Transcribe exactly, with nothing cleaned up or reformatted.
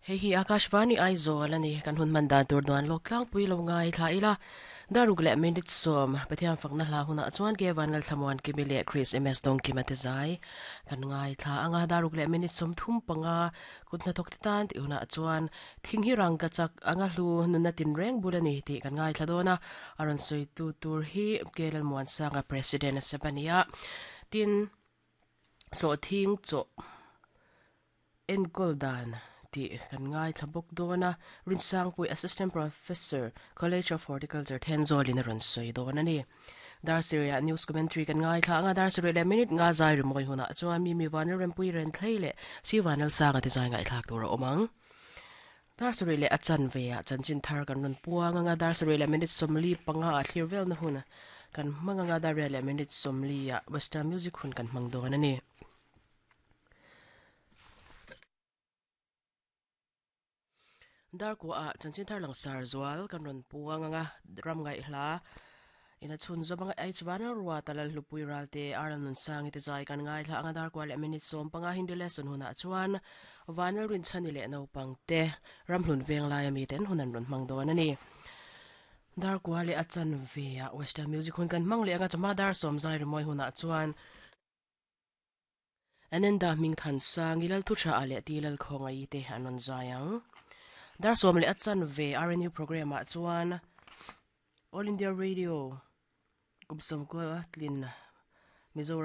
Hei hi Akashvani Aizawl ani kan hun man dan tur duan lok tlang pui lo ngai thla ila daruk le minute som Pathian fakna hla huna chuan ke vanlal thlamuan kimi le Chris M S dong kima te zai kan ngai thla anga daruk le minute som thum panga kutna thok te tan ti huna chuan thing hi rang ka chak anga hlu nunna tin reng bulani ti kan ngai thla dona aron soi tu tur hi Kelal Muan Sanga president Sabania tin so thing cho enkol dan ti kan ngai thlabok dona Rinsang Pui, assistant professor, College of Horticulture, Thenzawl in ron soi dona ni. Dar Syria news commentary kan ngai thla anga dar Syria le minute nga zai ri moi huna chuan mi mi vanel rempui ren thlei le si vanel sanga ti zai ngai thlak tur omang. Dar Syria le achan ve a chanchin thar kan ron puang anga dar Syria le minute somli panga a thlir vel na huna kan manga nga dar le minute somli a western music hun kan mang don ani. Dar ko a chanchin thar lang sar zwal kan ron puang anga ram ngai hla ina chun zo banga ai chwana ruwa talal hlupui ralte aran nun sang ite zai kan ngai thla anga dar kwal minute som panga Hindi lesson huna chuan vanal rin chani le no pangte ramhlun veng lai ami ten hunan ron mang don ani. Dar kwale achan ve a western music hun kan mang le anga chama dar som zai rimoi huna chuan anenda ming than sang ilal thu tha ale tilal khongai te anon zayang. Dar som le achan ve R N U program a chuan All India Radio kumsam ko tlin Mizoram.